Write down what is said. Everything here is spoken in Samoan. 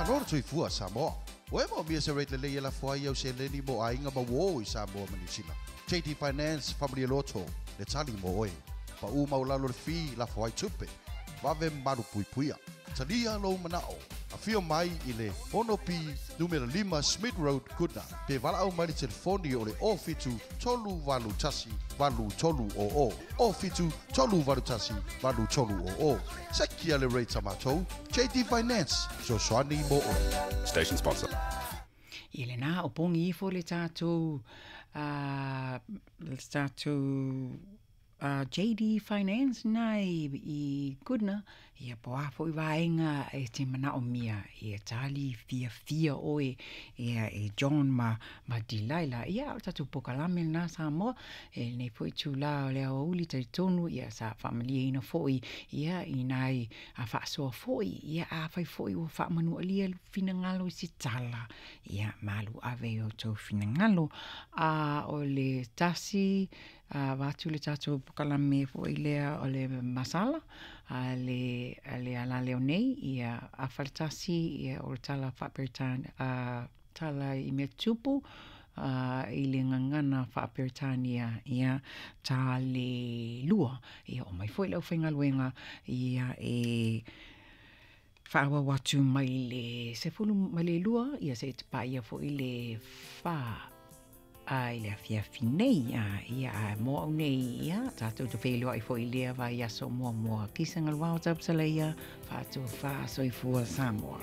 Malo le soifua Samoa. Ua e moomia se rate lelei e lafo ai au seleni mo aiga ma uō i Samoa ma Niu Sila? JD Finance Faamalie Loto le tali mo oe. Pa'ū maualalo le fee lafo ai tupe. Vave malu puipuia. Talia lou mana'o. Afio mai i le 6B numera 5 Smith Road, Goodna, pe valaau mai le telefoni o le 07 381 8300, 07 381 8300. Sekia le rate a matou, JD Finance, fesoasoani mo oe. Station sponsor. Ia lena o pogi ifo le tatou le tatou JD Finance na i Goodna, ia po o a foi vaega e te manaomia, ia tali fiafia oe ia e John ma ma Delilah. Ia o le tatou polokalame lena Samoa, e lenei foi itula o le aoauli talitonu ia sa faamalieina foi ia i nai faasoa foi, ia afai foi ua faamanualia finagalo i se tala, ia malu ave i o outou finagalo. A o le tasi avatu le tatou polokalame foi lea o le masala a le a le alaleo nei, ia afa le tasi, ia o le tala faa-Peretania, tala i mea tupu i le gagana faa-Peretania, ia ta le lua, ia oo mai foi le aufaigaluega ia e faaauau atu mai le 12, ia seia paia foi le 4 i le afiafi nei. Ia, a mo au nei, ia, tatou te feiloai foi i lea vaiaso muamua. Kisa Galuao Taupsaleia, faatofa soifua Samoa.